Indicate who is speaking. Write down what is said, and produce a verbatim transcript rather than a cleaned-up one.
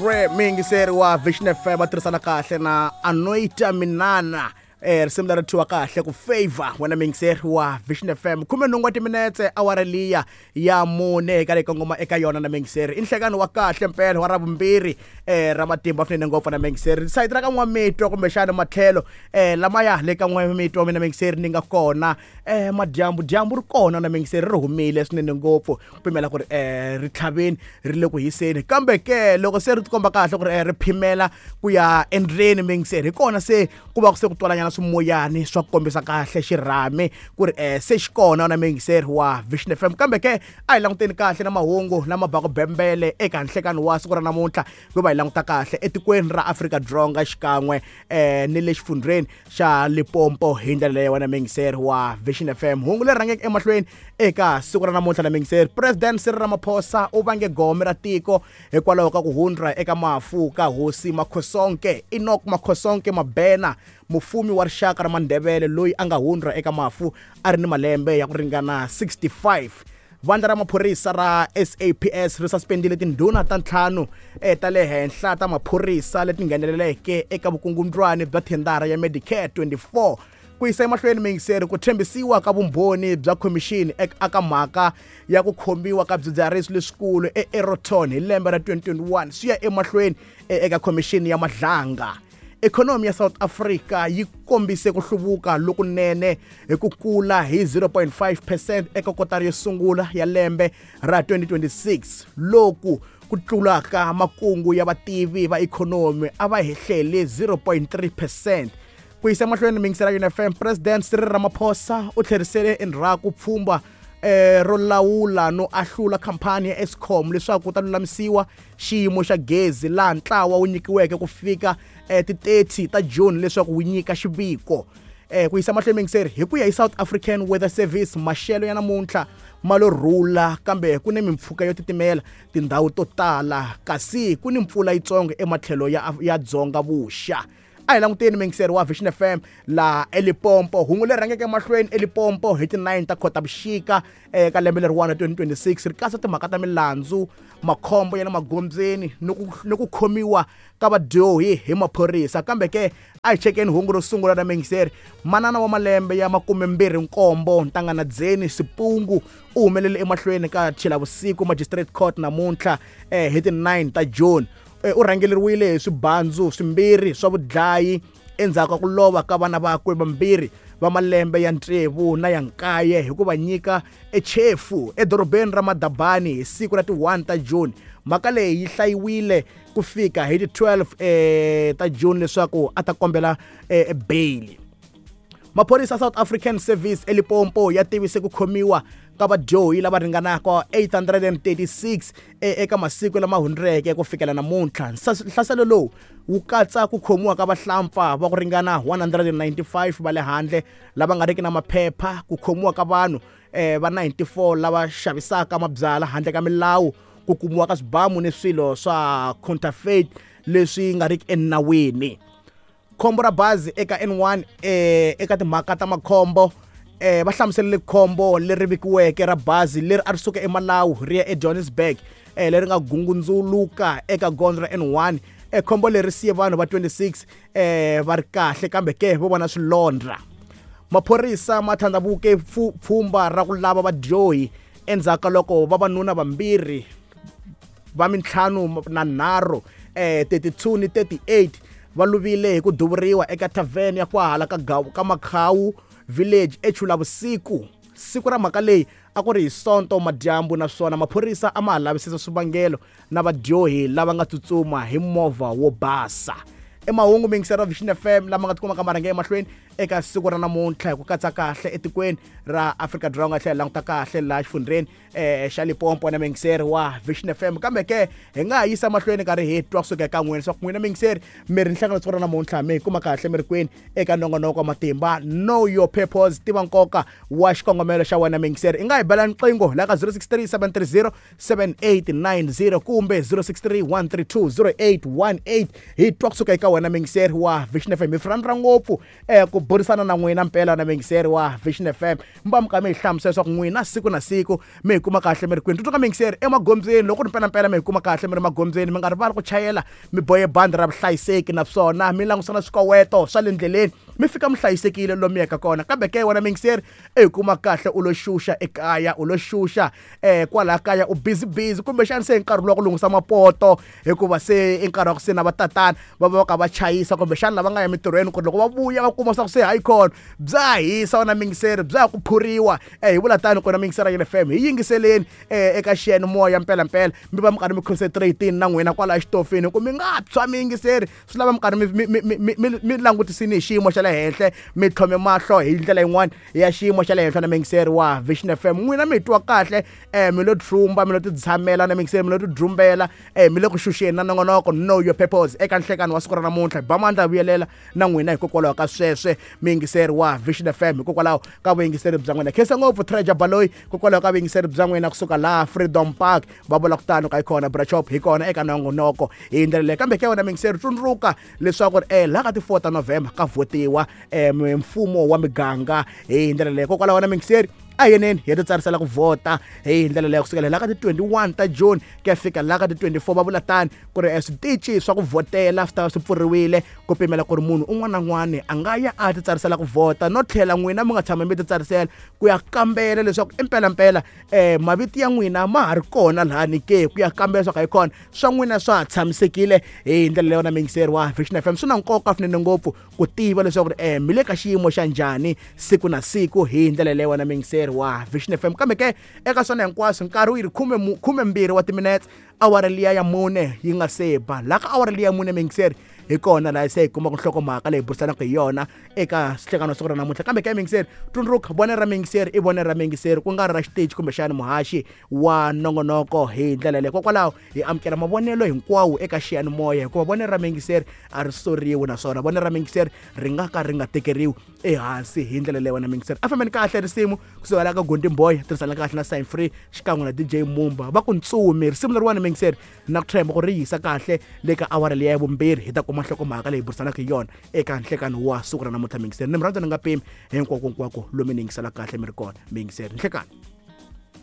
Speaker 1: Re muyingiseri wa Vision F M va tirhisana kahle na Anoita Minana eh risimu leri thyiwa kahle ku favor wena muyingiseri wa Vision F M khume nhungu wa timinetse awara liya ya mune eka leyi kongoma eka yona na muyingiseri i nhlekani wa kahle mpela wa ravumbirhi eh ra matimba swinene ngopfu na muyingiseri sayiti ra ka N'wamitwa kumbexana matlhelo eh lamaya le ka N'wamitwa mina muyingiseri ni nga kona eh madyambu dyambu ri kona na muyingiseri ri humile swinene ngopfu ku pimela ku ri eh ri tlhaveni ri le ku hiseni kambe ke loko se ri tikomba kahle ku ri eh, ri phimela ku ya endleni muyingiseri hi kona se ku va ku se ku twalanyana swimoyani swa ku kombisa kahle xirhami ku ri eh, se xi kona na muyingiseri wa Vision F M kambe ke a hi languteni kahle na mahungu lama baka bembele eka nhlekani wa siku ra namuntlha ku va hi languta kahle etikweni ra Afrika-Dzonga xikan'we eh, ni le xifundzheni xa Limpopo hi ndlela leyi wena muyingiseri wa Vision F M hungu leri rhangeke emahlweni eka siku ra namuntlha na muyingiseri President Cyril Ramaphosa u vange gome ra tiko hikwalaho ka ku hundza eka mafu ka hosi Makhosonke Enoch Makhosonke Mabena mufumi wa rixaka ra Mandebele loyi a nga hundza eka mafu a ri ni malembe ya ku ringana sixty-five. Vandla ra maphorisa ra S A P S ri suspendile tindhuna ta ntlhanu eh, ta le henhla ta maphorisa leti ngheneleleke eka vukungundzwani bya thendara ya Medicare twenty-four ku yisa emahlweni muyingiseri ku tshembisiwa ka vumbhoni bya khomixini eka mhaka ya ku khomiwa ka swidzidziharisi leswikulu eEroton hi lembe ra twenty twenty-one swi ya emahlweni eka khomixini ya Madlanga. Ikhonomi ya South Africa yi kombise ku hluvuka lokunene hi ku kula hi zero point five percent eka kotara yo sungula ya lembe ra twenty twenty-six loku ku tlulaka makungu ya vativi va ikhonomi a va hehlele zero point three percent. Ku yisa emahlweni muyingiseri wa Vision F M President Cyril Ramaphosa u tlherisele endzhaku pfhumba eh ro lawula no ahlula khampani ya Eskom leswaku ku ta lulamisiwa xiyimo xa gezi laha ntlawa wu nyikiweke ku fika eh, ti thirty ta June leswaku wu nyika xiviko. Eh ku yisa mahlweni muyingiseri hi ku ya hi South African Weather Service maxelo ya namuntlha ma lo rhula kambe ku ni mimpfhuka yo titimela tindhawu to tala kasi ku ni mpfula yitsongo ematlhelo ya, ya dzonga vuxa. A hi languteni muyingiseri wa Vision F M laha eLimpopo hungu leri rhangeke emahlweni eLimpopo hi ti nine ta Khotavuxika eka lembe leriwani twenty twenty-six ri katsa timhaka ta milandzu makhombo ya le magondzweni ni ku ni ku khomiwa ka vadyohi hi maphorisa kambe ke a hi chekeni hungu ro sungula na muyingiseri manana wa malembe ya makumembirhi nkombo Ntanganadzeni Sipungu u humelele emahlweni ka Chilavusiku Magistrate Court namuntlha eh, hi ti nine ta June. U rhangeleriwile hi swibandzu swimbirhi swa vudlayi endzhaku ka ku lova ka vana vakwe vambirhi va malembe ya tsevu na ya nkaye hi ku va nyika echefu edorobeni ra Madabani hi siku ra ti one ta June. Mhaka leyi yi hlayiwile ku fika hi ti twelve eh, ta June leswaku a ta kombela eh, bail. Maphorisa South African Service eLimpopo ya tivise ku khomiwa ka vadyohi lava ringanaka eight hundred and thirty-six eka masiku lama hundzeke ku fikela namuntlha. Nhlaselo lowu wu katsa ku khomiwa ka vahlampfa va ku ringana one hundred and ninety-five va le handle lava nga riki na maphepha, ku khomiwa ka vanhu eh, va ninety-four lava xavisaka mabyalwa handle ka milawu, ku kumiwa ka swibamu ni swilo swa counterfeit leswi nga riki enawini. Khombo ra bazi eka N one eh, eka timhaka ta makhombo eh, va hlamuselele khombo leri vikiweke ra bazi leri a ri suka eMalawi ri ya eJohannesburg eh, leri nga gungundzuluka eka gondzo ra N one. Eh, khombo leri siye vanhu va twenty-six eh, va ri kahle kambe ke vo vona swilondza. Maphorisa ma thandhavuke pfhumba ra ku lava vadyohi endzhaku ka loko vavanuna vambirhi va mintlhanu na nharhu eh, thirty-two ni thirty-eight va luvile hi ku duvuriwa eka tavern ya kwahala ka ka Makhawu Village eChulavusiku. Siku ra mhaka leyi a ku ri hi Sonto madyambu naswona maphorisa a ma ha lavisisa swivangelo na vadyohi lava nga tsutsuma hi movha wo basa. Emahungu muyingiseri wa Vision F M lama nga tikumaka ma rhange emahlweni eka siku ra namuntlha hi ku katsa kahle etikweni ra Afrika-Dzonga tlhela languta kahle laha xifundzheni eh, xa Limpopo na muyingiseri wa Vision F M kambe ke hi nga ha yisa mahlweni karhi hi twa kusuka eka n'wina leswaku n'wina muyingiseri mi ri nhlangano siku ra namuntlha mi hi kuma kahle mi ri kwini eka nongonoko wa matimba Know Your Purpose tiva nkoka wa xikongomelo xa wena muyingiseri. I nga hi bela nqingho la ka zero six three seven three zero seven eight nine zero kumbe zero six three one three two zero eight one eight hi twa kusuka eka wena muyingiseri wa Vision F M. Hi rhandza ngopfu eh, ku burisana na n'wina mpela na muyingiseri wa Vision F M. Mi va mi kha mi hi hlamusela leswaku n'wina siku na siku mi hi kuma kahle mi ri kwini. Tsundzuka muyingiseri emagondzweni, loko ri mpelampela mi hi kuma kahle mi ri magondzweni, mi nga rivali ku chayela mi bohe bandi ra vuhlayiseki naswona mi langutisa na swikoweto swa le ndleleni, mi fika mi hlayisekile lomu yaka kona. Kambe ke wena muyingiseri i hi kuma kahle u lo xuxa ekaya, u lo xuxa eh kwala kaya, u busy busy kumbexana se nkarhi lowa ku lunghisa mapoto, hikuva se i nkarhi wa ku se na vatatana va va va ka va chayisa, kumbexana lava nga ya emitirhweni ku ri loko va vuya va kuma swa ku se hayi khona bya hisa wena muyingiseri, bya ku phuriwa. Eh hi vula tani kona muyingiseri ya F M, hi yingiseleni eh eka xiyanimoya mpelampela, mi va mi karhi mi concentrate na n'wina kwala exitofini, ku mi nga tshwa muyingiseri, swi lava mi karhi mi mi mi mi langutisini hi xiyimo xa le henhla, mi tlhome mahlo hi ndlela yin'wana ya xiyimo xa le henhla na muyingiseri wa Vision F M. N'wina mi twa kahle eh mi lo trumba, mi lo titshamela na muyingiseri, mi lo tidrumbela eh mi le ku xuxeni na nongonoko Know Your Purpose eka nhlekani wa siku ra namuntlha. Ba mandla vuyelela na n'wina hikokwalaho ka sweswe muyingiseri wa Vision F M, hikokwalaho ka vuyingiseri bya n'wina. Khensa ngopfu Treasure Baloyi hikokwalaho ka vuyingiseri bya n'wina kusuka laha Freedom Park, va vula ku tano ka hi kona Brachop hi kona eka nongonoko hi ndlela leyi. Kambe ke wena muyingiseri tsundzuka leswaku eh laha ka ti four ta November ka votiwa eh mfumo wa miganga hi ndlela leyi. Hikokwalaho wena muyingiseri a yeneni hi ti tsarisela ku vhota hi ndlela leyi kusukela laha ka ti twenty-one ta June ku ya fika laha ka ti twenty-four. Va vula tani ku ri switichi swa ku vhotela swi ta va swi pfuriwile ku pimela ku ri munhu un'wana na un'wana a nga ya a ti tsarisela ku vhota, no tlhela n'wina mi nga tshama mi ti tsarisela ku ya kambela leswaku impelampela um mavito ya n'wina ma ha ri kona lahani ke, ku ya kambela leswaku hi kona swa n'wina swa ha tshamisekile hi ndlela leyi. Wona muyingiseri wa Vision F M, swi na nkoka swinene ngopfu ku tiva leswaku um mi le ka xiyimo xa njhani siku na siku hi ndlela leyi wona muyingiseri wa Vision F M. Kambe ke eka swona hinkwaswo nkarhi wu yi ri khume khumembirhi wa timinetse, awara liya ya mune yi nga se ba. Laha ka awara liya ya mune muyingiseri hi kona laha se hi kumaka nhlokomhaka leyi burisanaka hi yona eka xihlekano siku ra namuntlha. Kambe ke muyingiseri tsundzuka, vonelo ra muyingiseri i vonelo ra muyingiseri, ku nga ri ra xiteji kumbexana muhaxi wa nongonoko hi ndlela leyi. Hikokwalaho hi amukela mavonelo hinkwawo eka xiyanimoya, hikuva vonelo ra muyingiseri a ri soriwi, naswona vonelo ra muyingiseri ri nga ka ri nga tekeriwi ehansi hi ndlela leyi. Wena muyingiseri a fambeni kahle risimu kusuka laha ka Gondi Boy, tirhisana kahle na Sign Free xikan'we na D J Mumba, va ku ntsumi. Risimu leriwani muyingiseri na ku tshemba ku ri yisa kahle le ka awara liya ya vumbirhi, hi ta kuma nhlokomhaka leyi burisanaka hi yona eka nhlekano wa siku ra namuntlha. Muyingiseri ni mi rhandza ni nga pimi hinkwako hinkwako lomu ni yingisela kahle mi ri kona muyingiseri. Nhlekano.